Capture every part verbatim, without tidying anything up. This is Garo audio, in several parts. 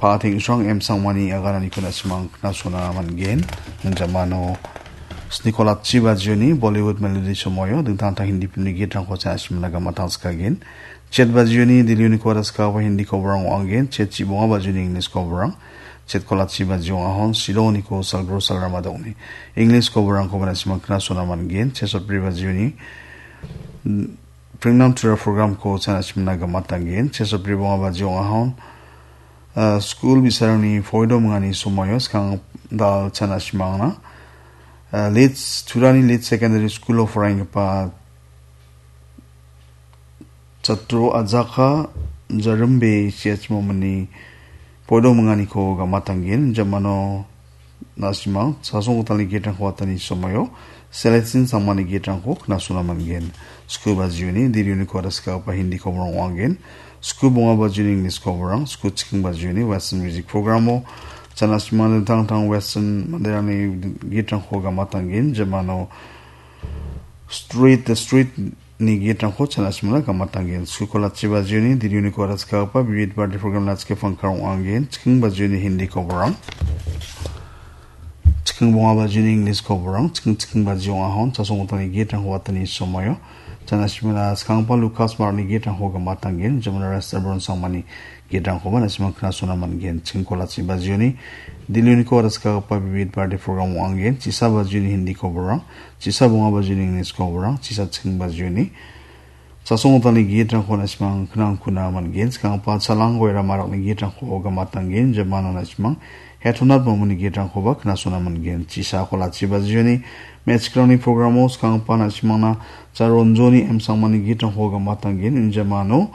Pa Teng·srang M Sangmani agananiko na·simang knasona man·gen. Jamano sniko latchi bajioni Bollywood melody somoio dingtang dingtang Hindi filmni gitrangko cha·na simna gamatanskagen. Chet bajioni Delhi-oniko waraskaba Hindi koborang ong·angen. Chet chibonga bajioni English koborang. Chet kolatchi bajio ahon Shillong-oniko salgro salrama dongni English koborangkoba na·simang knasona man·gen. Chet sotbri bajioni Prengnam Tura programko cha·na simna gamatangen. Chet sotbri bonga bajio ahon, ah, skul bi·sarangni poido mingani somoio skang dal cha·na simangna. Ah, Leeds, Turani Leeds Secondary School-o poraienggipa chatro Ajaka Jarimbe C H Momini poido minganiko gamatangen. Jamano na·simang chasong gitalni gitrangko atani somoio Celestine Sangmani gitrangko knasona man·gen. Sku bajioni Delhi-oniko waraskaba Hindi koborang ong·angen. Sku bonga bajioni English koborang, sku chiking bajioni Western music programo cha·na simang dingtang dingtang Western manderangni gitrangko gamatangen. Jamano Street, The Street ni gitrangko cha·na simna gamatangen. Sku kolatchi bajioni Delhi-oniko waraskaba Vivid Bharati program latchke pangkarang ong·angen. Chiking bajioni Hindi koborang. Chiking bonga bajioni English koborang. Chiking chiking bajio ahon chasong gitalni gitrangko atani somoio cha·na simna skangpa Lucas Mark-ni gitrangko gamatangen. Jamano Restaurant Sangmani gitrangkoba na·simang knasona man·gen. Chiking kolatchi bajioni Delhi-oniko waraskaba Vivid Bharati program ong·angen. Chisa bajioni Hindi koborang, chisa bonga bajioni English koborang, chisa chiking bajioni chasong gitalni gitrangko na·simang knangkuna man·gen. Skangpa Chalang Goira Marakni gitrangko gamatangen. Jamano na·simang Hetonat Momoni gitrangkoba knasona man·gen. Chisa kolatchi bajioni me·chikrangni programo skangpa na·simangna Charonjoni M Sangmani gitrangko gamatangen. Jamano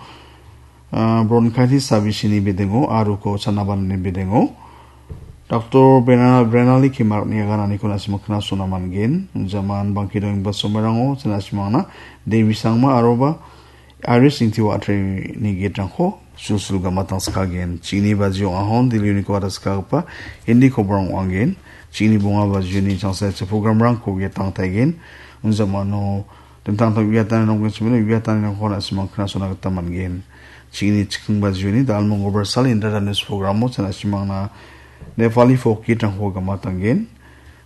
ah, bronchitis sabisini bidingo aruko chanabanani bidingo. Doctor Brenna-, Brenali Kimarkni agananiko na·simang knasona man·gen. Jaman bangke dongenggipa somoirango cha·na simangna Devi Sangma aroba Iris Ingti Watreni gitrangko sulsul gamatangskagen. Chini bajio ahon Delhi-oniko waraskagipa Hindi koborang ong·angen. Chini bonga bajioni changsa programrangko getangtaigen. Unjamano dingtang dingtang uiatani nonggenchimani uiatanirangko na·simang knasona gita man·gen. Chini chiking bajioni Dalmong Obersal Indra Danish programo cha·na simangna Nepali folk gitrangko gamatangen.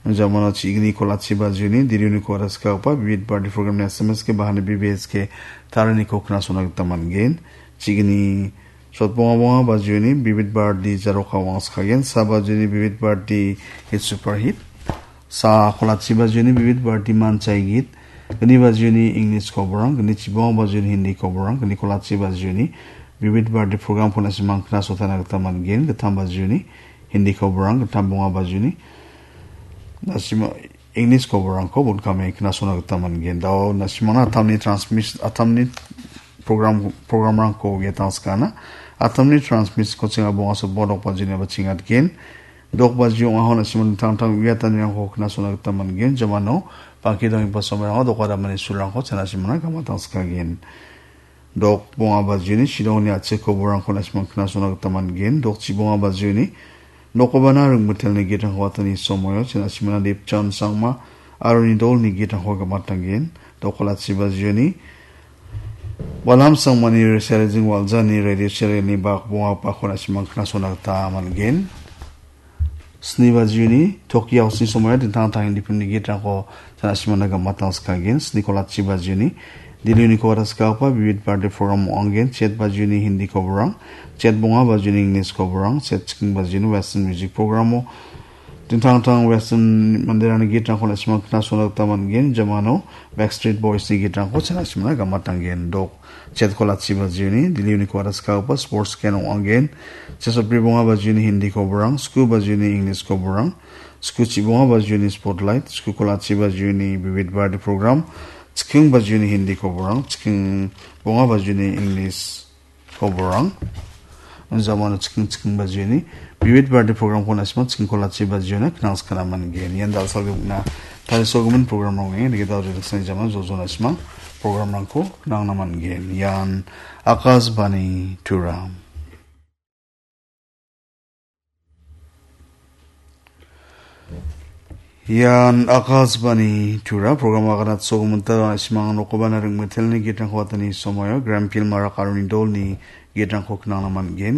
Jamano chigni kolatchi bajioni Delhi-oniko waraskagipa Vivid Bharati program-ni S M S ke bahani B B S ke taraniko knasona gita man·gen. Chigni sotbonga bonga bajioni Vivid Bharati jaroka wangskagen. Sa bajioni Vivid Bharati hit super hit. Sa kolatchi bajioni Vivid Bharati manchai git. Gni bajioni English koborang, gni chibonga bajioni Hindi koborang, gni kolatchi bajioni Vivid Bharati program-ko na·simang knasotana gita man·gen. Gittam bajioni Hindi koborang, gittam bonga bajioni na·sima English koborangko bon·kame knasona gita man·gen. Dao na·simangna atamni transmis-, atamni program, programrangko getangskana. Atamni transmission-ko chinga bonga sotbonga dok bajioni ba chingatgen. Dok bajio ong·ahon na·simang dingtang dingtang uiatanirangko knasona gita man·gen. Jamano bangke dongenggipa somoirango doka damani sulrangko cha·na simangna gamatangskagen. Dok bonga bajioni Shillong-ni a·chik koborangko na·simang knasona gita man·gen. Dok chibonga bajioni Nokobana Ringmitelni gitrangko atani somoio cha·na simangna Dipchan Sangma aroni dolni gitrangko gamatanggen. Dok kolatchi bajioni Walam Sangmani Reserijing Waljani radio serial-ni bak bonga bakko na·simang knasona gita man·gen. Sni bajioni Tokyo House-ni somoio dingtang dingtang Hindi film-ni gitrangko cha·na simangna gamatangskagen. Sni kolatchi bajioni Delhi-oniko waraskagipa Vivid Bharati program ong·angen. Chet bajioni Hindi koborang, chet bonga bajioni English koborang, chet chiking bajioni Western music programo dingtang dingtang Western manderangni gitrangko na·simang knasona gita man·gen. Jamano Backstreet Boys-ni gitrangko cha·na simangna gamatanggen. Dok chet kolatchi bajioni Delhi-oniko waraskagipa sports ken ong·angen. Chet sotbri bonga bajioni Hindi koborang, sku bajioni English koborang, sku chibonga bajioni Spotlight, sku kolatchi bajioni Vivid Bharati program, chiking bajioni Hindi koborang, chiking bonga bajioni English koborang. Jamano chiking chiking bajioni Vivid Bharati program-ko na·simang chiking kolatchi bajiona knangskana man·gen. Ian dal·salgipna tarisogimin programrang ong·enga. Nigita uri riksani jaman jojo na·simang programrangko knangna man·gen. Ian Akashvani Tura. Ian Akashvani Tura program aganat sogomunta na·simang nokoba na ringmetelni gitrangko atani somoio Grandfield Marak aroni dolni gitrangko knangna man·gen.